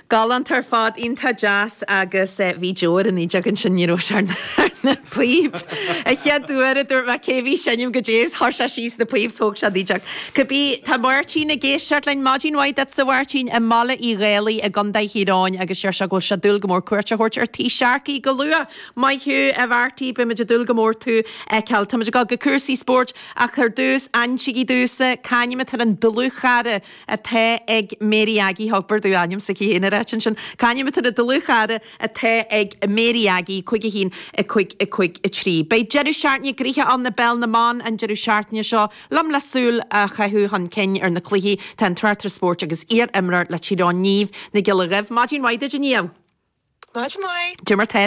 Galánta ar fad, iontach deas agus bhí deoir an fhídeog ansin, ní raibh sé ar na píob. An chéad uair a dúirt mé cé bhí seinm goidé is chuir sé síos na píob 's thóg sé an fhídeog. Cibé, tá Máirtín ag éisteacht linn, maidin mhaith duitse a Mháirtín i mBaile Uí Dhálaigh i gContae Thír Eoghain agus deir sé go bhfuil sé ag dúil go mór cuairt a thabhairt ar Tí Sharkey go luath. Maith thú a Mharty, beimid ag dúil go mór tú a fheiceáil. Táimid ag dul go cúrsaí spóirt ach ar dtús, insígí domhsa, c'ainm atá ar an dlúthchara atá ag Mary Aggie, thug bur dú ainm s'aici féin a ráit ansin, c'ainm atá ar an dlúthchara atá ag Mary Aggie, 5 1, 5 5 3. Beidh deireadh seachtaine gnoitheach ann i bPeil na mBan an deireadh seachtaine seo. Liom le súil a chaitheamh chun cinn ar na cluichí tá an tráchtaire spóirt agus iar-imreoir le Tír Eoghain Niamh Nic Giolla Dhuibh. Maidin mhaith duit a Niamh. Maidin mhaith. Cad é mar tá.